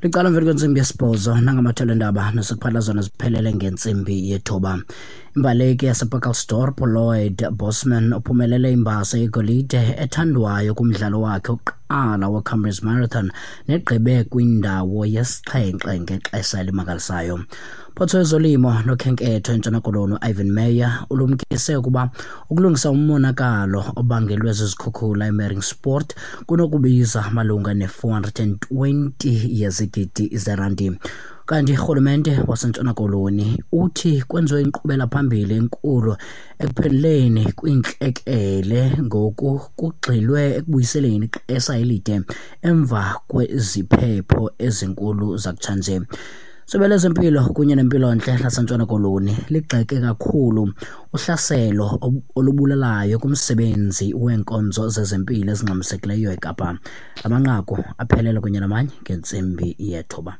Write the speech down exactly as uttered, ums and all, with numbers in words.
Licala emveni kwentsimbi yesibhozo nangamathelo endaba nesikuphatha zona ziphelele ngentsimbi yethoba. Imbaleki yasePacaltsdorp Lloyd Bosman uphumelele imbasa yegolide ethandwayo kumdlalo wakhe wokuqala weComrades Marathon negqibe kwindawo yesixhenxe ngexesha elimangalisayo. Photho wezolimo nokhenketho eNtshona Koloni Ivan Meyer ulumkise ukuba ukulungisa umonakalo obangelwe zizikhukhula eMeiringspoort kunokubiza malunga ne-four hundred and twenty yezigidi zerandi. Kanti urhulumente waseNtshona Koloni uthi kwenziwe inkqubela phambili enkulu ekuphenduleni kwiintlekele ngoku kugxilwe ekubuyiseleni ixesha elide emva kweziphepho ezinkulu zakutshanje. Isebe lezempilo kunye nempilontle laseNtshona Koloni ligxeke kakhulu uhlaselo olubulalayo kumsebenzi weenkonzo zezempilo ezingxamisekileyo eKapa. Amanqaku aphelele kunye namanye ngentsimbi yethoba.